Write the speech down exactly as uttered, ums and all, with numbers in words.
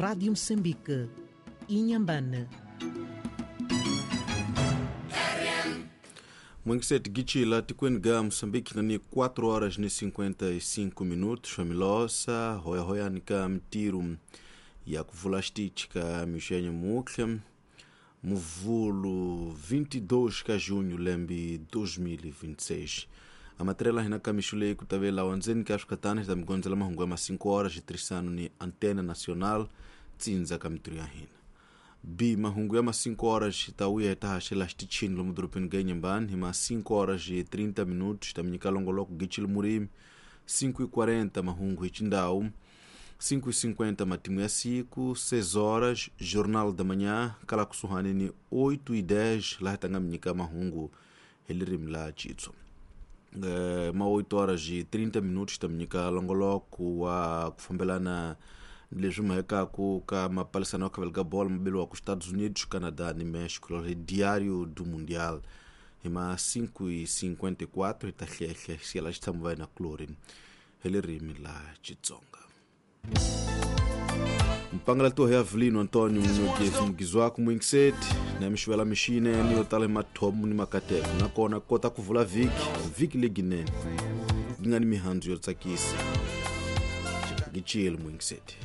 Rádio Moçambique, Inhambane. Mwengiseti gichila tikweni ga Moçambique nani quatro horas e cinquenta e cinco minutos familosa hoya hoya nika mtiru ya kuvula stichika mixenye mukhle muvulo vinte e dois de junho lembi dois mil e vinte e seis. A matrela hina kamixulei kutavela wanzeni ka Afrika da mgonzela mahungu ya cinco horas e trisano ni Antena Nacional tsinza kamitru ya hina. B mahungu ya cinco horas tauya itahaxela xtichini lomu dorobeni ga Inhambane hi ma cinco horas e trinta minutos taminyika longoloko gichil murimi cinco e quarenta mahungu hi xindhawu cinco e cinquenta matimu ya siku seis horas Jornal da Manhã kala kusuhani ni oito e dez laha tanga minyika mahungu hi ririmi la Xitsonga. Eh, ma oito horas e trinta minutos taminyika longoloko wa ku fambelana leswi mhekaku ka mapalisano ya khavela ka bolo mabeliwa ku Estados Unidos, Canadá ni México hi Diário do Mundial hi ma cinco e cinquenta e quatro hi ta hlehle xiyela xitshamo va na chlorine hi ririmi la Xitsonga. Mpangala to ya Avelino Antonio Munogezi mugizwako mwingiseti na mixivela mixinene yo tala hi mathomo ni makateko nakona kota ku vula vhiki vhiki leginene yi nga ni mihandzu yo tsakisa. Gichile mwingiseti.